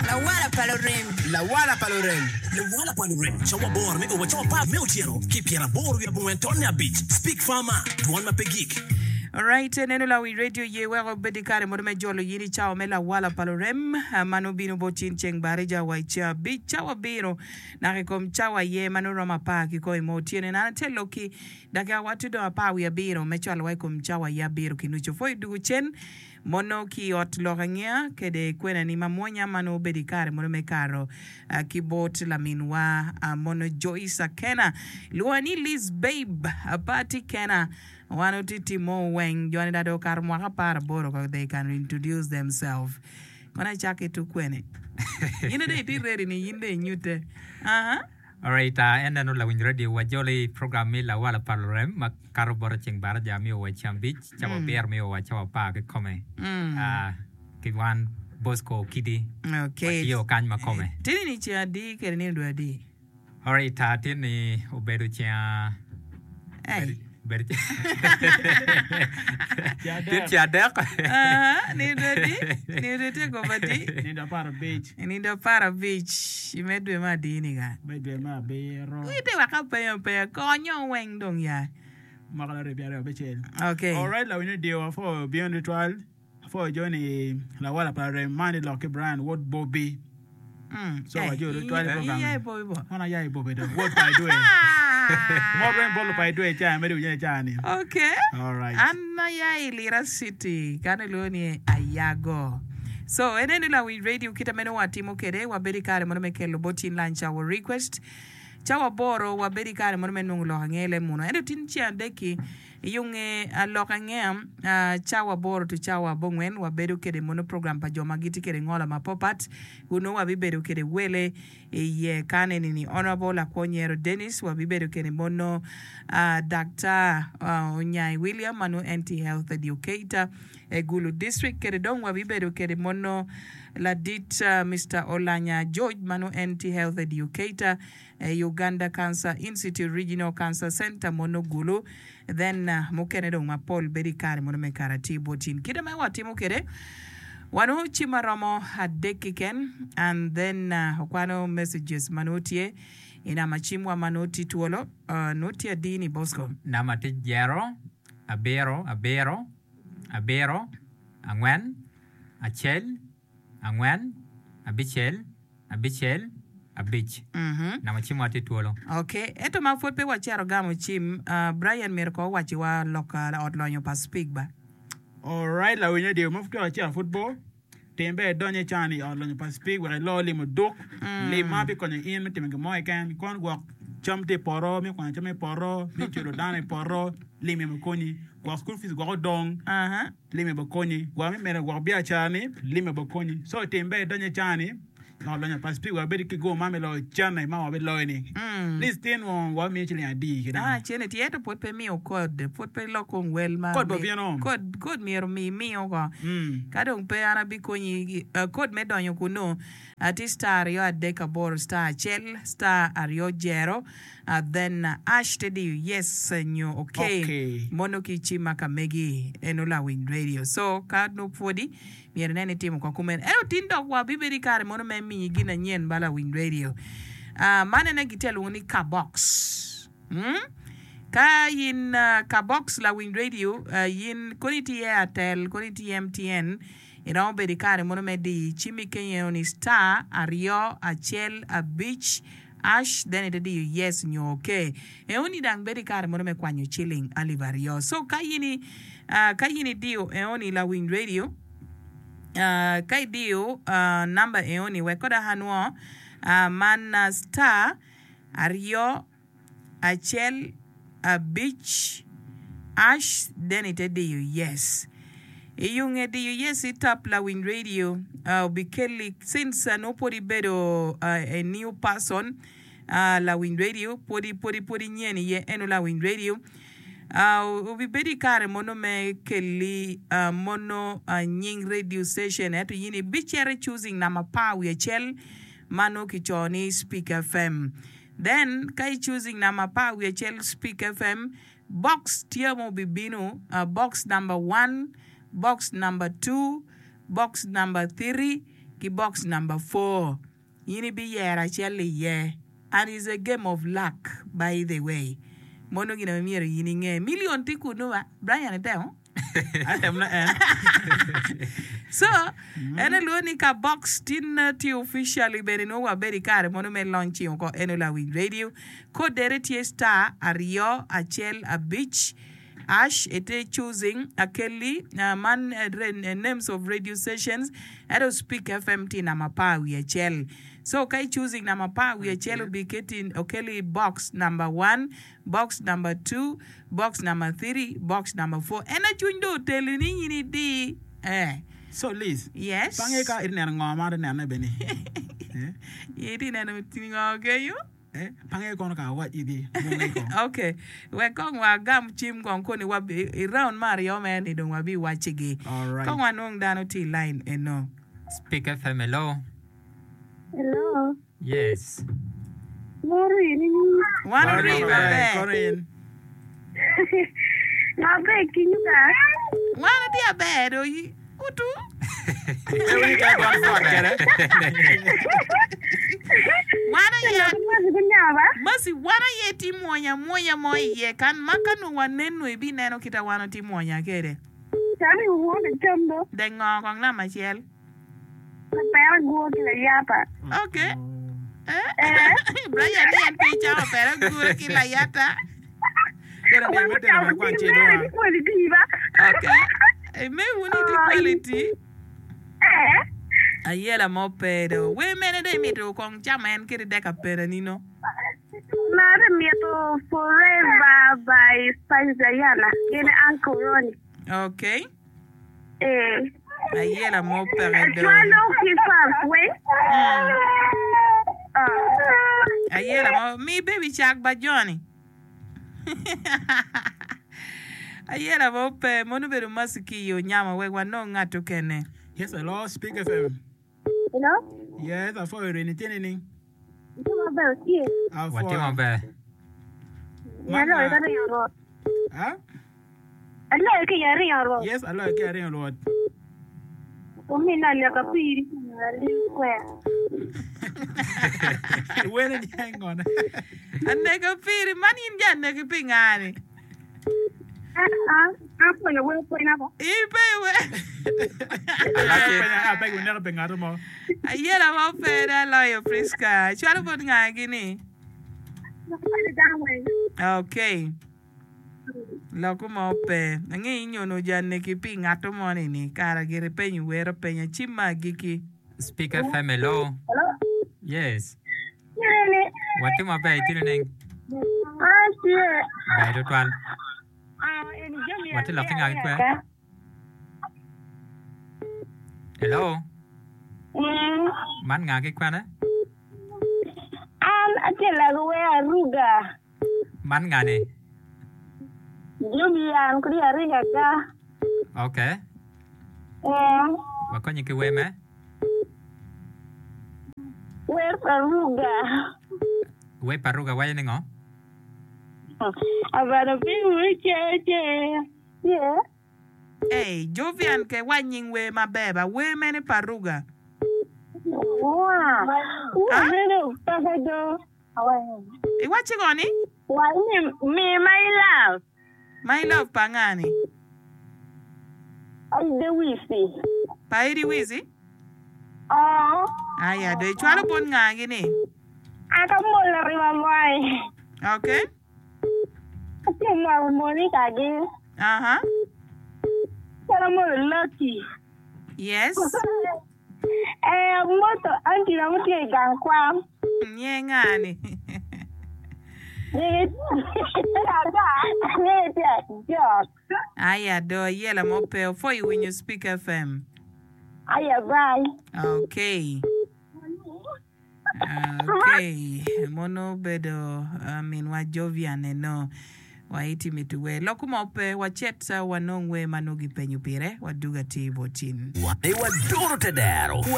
Lawala pa lurem. Lawala pa lurem. Lawala pa lurem, Cawa aboro me o wa cawa apar me otyeno ki pyeraboro wiye abongwen tonne abic. Speak Farmer, Dwon ma pe gik. Alright, neno lawi radio ye weko obed i kare mono me jolo yin i cawa me lawala pa lurem ma nongo bino bot cin ceng barija wa i ceng abic cawa abiro naka i kom cawa aye ma nongo romo apar ki kome mo otyeno en an ate lokki dakika wa tye dong apar wiye abiro me cwalo wa i kom cawa aye abiro ki nucu pwoyo dugu cen Mono ki i ot lok angeya kede kwenani ma mwonya ma nongo obedo i kare mono me kato ki bot laminwa mono Joyce Akena lwonga ni Liz Babe party kena wan otye timo weng joni dong okato mwaka aparaboro ko they can introduce themselves kono acaki tuk kwene in dong itye ready ni in dong inyute aha. Alright, en neno lawiny radio wa jolo i program me lawala pa lurem ma kato bota ceng baraja miyo wa ceng abic cawa abiro miyo wa cawa apar kikome ki wan Bosco Okidi Okay. watye kany ma kome. Tini ni ceng adi kede nino dwe adi? Alright, tini obedo ceng Hey. Bedo Tye ce adek. Aha, nindo adi? Nindo tye kop adi? Nindo 15. Nindo 15 i me dwe me adi-ni ka? Me dwe me abiro. Ite wek apenyo apenyo, konyo weng dong ya. Mwaka laryo 26. Okay. Alright, lawiny radio apwoyo bino tutwal. Apwoyo joni lawala pa rem man i lok ki Brian wod Bobby. So Eh, wajo tutwal i program. iya i Bobby bo. An aya i Bobby dong, wod pa Idwe. Mot weng bot lupa Idwe i caa mere winyo i caa ni. Okay. Alright. An aya i Lira City, kano ilwongo ni Ayago. So, en eni lawiny radio kita meno watimo kede, wabedo i kare mono me kelo bot in lunch hour request. Cawa aboro wabedo i kare mono me nongo lok ange leb muno. Ento tin ceng adek-ki, I yo nge lok angeya, cawa aboro to cawa abongwen wabedo kede mono program pa jo ma gitye kede ngola mapopat. Kunnu wabibedo kede wele iye kan eni ni Honourable Lakwo Nyero Dennis, wabibedo kede mono Daktar Onyai William ma nongo en tye Health Educator i Gulu District kede dong wabibedo kede mono ladit Mister Olanya George ma nongo en tye Health Educator I Uganda Cancer Institute Regional Cancer Center mono Gulu then mukene dong mapol bedo i kare mono me kare atir bot in. Kite ma watimo kwede wanongo cim maromo adek keken and then wakwano messages ma nongo tye i namba cimwa ma nongo tye twolo nongo tye adi ni Bosco? Namba tye jero, abiro, abiro, abiro, angwen, acel, angwen, abicel, abicel, abic. Namo cimwa tye twolo. Ok, ento ma pwod pe wacito gamo cim, Brian myero kong owacciwa lok ot lonyo pa Speke ba. Alright lawiny radio ma pud wacito pud bor, tim ber idony ican i ot lonyo pa Speke wek ilo limo duk. Lim ma bikonyo in me timo gin mo keken, kono gwok cam tye i poto, me kwanyo cam i poto, me culo dano i poto, lim aye bikonyi. Gwok school fees gwok odong. Lime bakonyi, gwok me medo gwok biacara-ni, lime bakonyi. So tim ber idonyo i caa-ni, loko lonyo pa Speke wek wabed ki go man me loyo canne ma wabiloyo-ni. Liz tye nwo wabimiyo ciling adi ki dano? Ah, cene tye ento pwod pe imiyo kod, pwod pe ilok kong wel ma Kod bobino. Kod, kod myero omi imiyo ko. Ka dong pe an abikonyi, kod me donyo kunu tye star aryo adek aboro star acel star aryo jero. Then ash te diyo yes nyo ok mono ki cima ka megi eno lawiny radio so ka nongo pwodi myero inen itimo ko kumeno ento tin dok wa bibedo i kare mono me miyi gin anyen ba lawiny radio man ene gitye alwongo ni ka box ka in ka box lawiny radio in kono itye airtel kono itye MTN iromo bedo i kare mono me diyo cimi kenyo eno ni star aryo acel abic Ash then ite diyo yes nyo ok. Eoni dang bedo ikare mono me kwanyo ciling alip aryo. So ka in i ka in idiyo eoni lawiny radio ka idiyo number eoni wek kod anwo man star aryo acel abic ash then ite diyo yes. I yo nge diyo yes i tap lawiny radio obikelli since nongo pwod ibedo a new person lawiny radio pwodi pwodi pwod inyen iye eno lawiny radio obibedo i kare mono me kelli mono nying radio station ento in ibicito i choosing namba apar wiye acel ma nongo kicoyo ni speak FM. Then ka i choosing namba apar wiye acel Speak FM, box tye ma obibino, box number one, box number two, box number three, ki box number 4. In ibiyero acel iye and is a game of luck by the way. Mono gin ma myero in inge. Million tye kunu ba? Brian itemo? Atemo na en. So, en alwongo ni ka box tin tye officially bene nongo wabedo i kare mono me launching oko eno lawiny radio. Code-re tye star aryo acel abic Ash ite choosing akelli man names of radio stations ento speak FM tye namba apar wiye acel so ka i choosing namba apar wiye acel obi keti okelli box number one, box number two, box number three, box number four en aye cwiny dong oteli ni in idi eh. So Liz, Yes. pange ka iti neno ngo ma ati nene bene ni? Iti neno ngo kenyo? Eh, pange kono ka awac igi, bunge kong. Ok, wek kong wagam cim kong koni wa i round me aryo mere ni dong wabi wacigi. Alright. Kong wanong dano tye i line eno. Speak FM, hello. Hello. Yes. Moro in Wan Wan ori maber, maber. kono in. Maber kinyu ka. Wan atye aber do utu. Wan aye Mercy, wan aye tye mwonya mwonya mo iye kan ma ka nongo waneno ibineno kita wan watye mwonya kede. Dek ngo kong namba acel. Ok. Eh. Brian ni en pe icamo pera gure ki layata. Ok. Imewu ni tye quality. Ayela mo pe do. Wer mene dong imito kong camo en kede dek apena ni no? Maro mito Forever by Spice Diana gin Uncle Ronnie. Ok. Ee. Ayela mo peke do. Acwalo ki fans weng. Ayela mo mi baby cak ba Johnny. Ayela mo pe mono obedo mercy ki i onyama wek wanong ngat okene. Yes, hello, Speak FM. Hello. Yes, apwoyo rini tye nining? Itye maber tye. Apwoyo. Watye maber. Aloyo ka ringo rwot. Ha? Aloyo ki i ringo rwot. Yes, aloyo ki i ringo rwot. Omina leka piri aliu kwer. Wene niang ngone. Aneko piri, man in ja aneki pi nga-ni? Apwonyo wer pwenya bo. Ipe wer. Apwenya ape guneko pe ngato mo. Ayela mo pe da loyo Prisca. Cwalo bot nga gini? Okay. Loko mo pe. Ange inyono janeki pi ngato mo ni ni kara gire penyo wer apenya cim ma agiki. Speak FM, hello. Hello. Yes. Tye Watye maber itye nining? An tye. Ber tutwal. Ah, eni jami Watye lok ki nga ki kwe? aka. Hello. Mm. Man nga ki kwene? An atye lego wer aruga. Man nga ni? Jami an kodi aringa ga. Okay. Mm. Wakonyi ki wer me? Wer pa Ruga. Wer pa Ruga waco ni ngo? Abana piny wi ce ce ce. Ey, Jovian ke wac nying wer maber ba, wer mene pa Ruga? Wa, wa mene peke do. Iwacci ngo ni? Wa ni mi my love. My love pa nga ni? Aide Wizi. Pa Aidi Wizi? Oo. Aya do icwalo bot nga gi ni? Aka molo rima moi. Okay. Atye moro Monica gi. Aha. Calo molo Lucky. Yes. Ee, amoto auntie na mutye i gang kwan. Nye nga ni? Nyinge tye Jok. Aya do ayela mo pe opwoyo winyo Speak FM. Aya bye. Okay. Okay. Mono obedo uh, minwa Jovian eno. Waiti mitu wer. Lok mo pe wacet wanong wer ma nongo gipenyo pire waduga atir bot in. Wan aye waduro te dero.